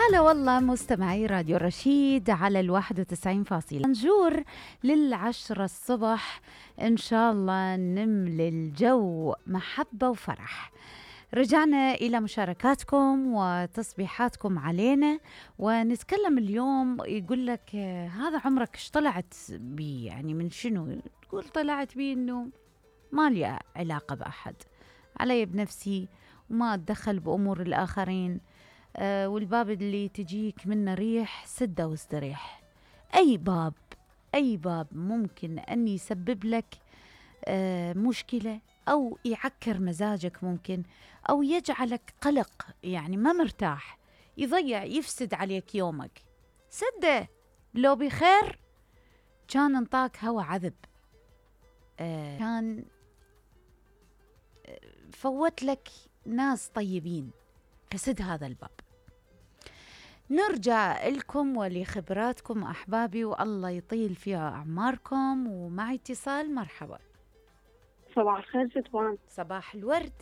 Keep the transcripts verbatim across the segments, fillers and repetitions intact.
هلا والله مستمعي راديو رشيد على الواحد وتسعين فاصلة. نجور للعشرة الصبح إن شاء الله نملي الجو محبة وفرح. رجعنا إلى مشاركاتكم وتصبيحاتكم علينا، ونتكلم اليوم. يقول لك هذا عمرك ايش طلعت بي؟ يعني من شنو؟ تقول طلعت بي إنه ما لي علاقة بأحد، علي بنفسي وما أتدخل بأمور الآخرين. آه والباب اللي تجيك منه ريح سده واستريح. أي باب أي باب ممكن أن يسبب لك آه مشكلة أو يعكر مزاجك، ممكن أو يجعلك قلق، يعني ما مرتاح، يضيع يفسد عليك يومك، سده. لو بخير كان انطاك هوا عذب، آه كان فوت لك ناس طيبين، فسد هذا الباب. نرجع لكم ولخبراتكم أحبابي، والله يطيل فيها أعماركم. ومعي اتصال. مرحبا. صباح الخير ستوان. صباح الورد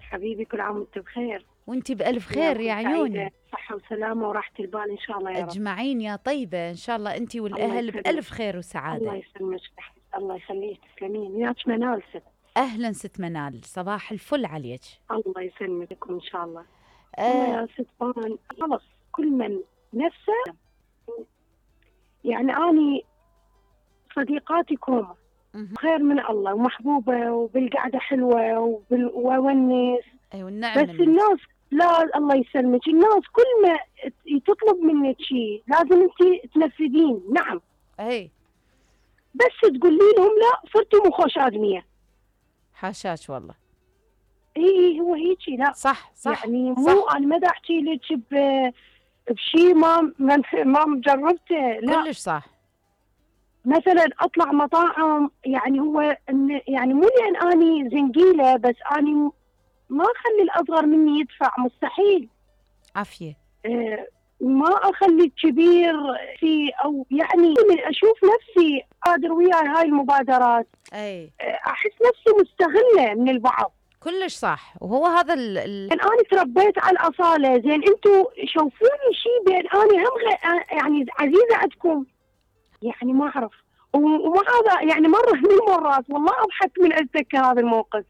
حبيبي، كل عام وانت بخير. وانت بألف خير يا عيوني. صحة وسلامة وراحة البال إن شاء الله يا رب. أجمعين يا طيبة، إن شاء الله انت والأهل بألف خير وسعادة. الله يسلمك. الله يخليك، تسلمين. وياك منال ست. أهلا ست منال، صباح الفل عليك. الله يسلمك إن شاء الله. آه يا ستوان، خلص كل من نفسه. يعني أني صديقاتي كومة خير من الله ومحبوبة وبالقعدة حلوة وبالونس. أيوة النعم. بس الناس لا، الله يسلمك، الناس كل ما تطلب منك شيء لازم انت تنفذين. نعم. اي بس تقولي لهم لا، صرتي مو خوش آدمية. حاشاك والله. اي هو هيجي. لا صح صح يعني مو صح. انا ما دا احكي لك بشيء ما ما جربته. لا كلش صح. مثلا اطلع مطاعم، يعني هو يعني مو لان اني زنقيله، بس اني ما اخلي الاصغر مني يدفع، مستحيل. عافيه. أه ما اخلي الكبير في، او يعني من اشوف نفسي قادر وياي هاي المبادرات. اي احس نفسي مستغله من البعض. كلش صح. وهو هذا ال ال يعني انا تربيت على الاصاله. زين انتم شوفوني شيء بين اني هم يعني عزيزه عندكم، يعني ما اعرف. وما هذا يعني مره من المرات والله اضحك من اتذكر هذا الموقف.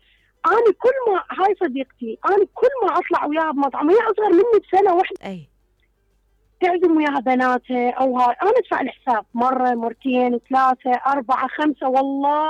انا كل ما هاي صديقتي، انا كل ما اطلع وياها بمطعم، هي اصغر مني بسنه واحده، اي تعزم وياها بناتها او هاي، انا ادفع الحساب مره مرتين ثلاثه اربعه خمسه، والله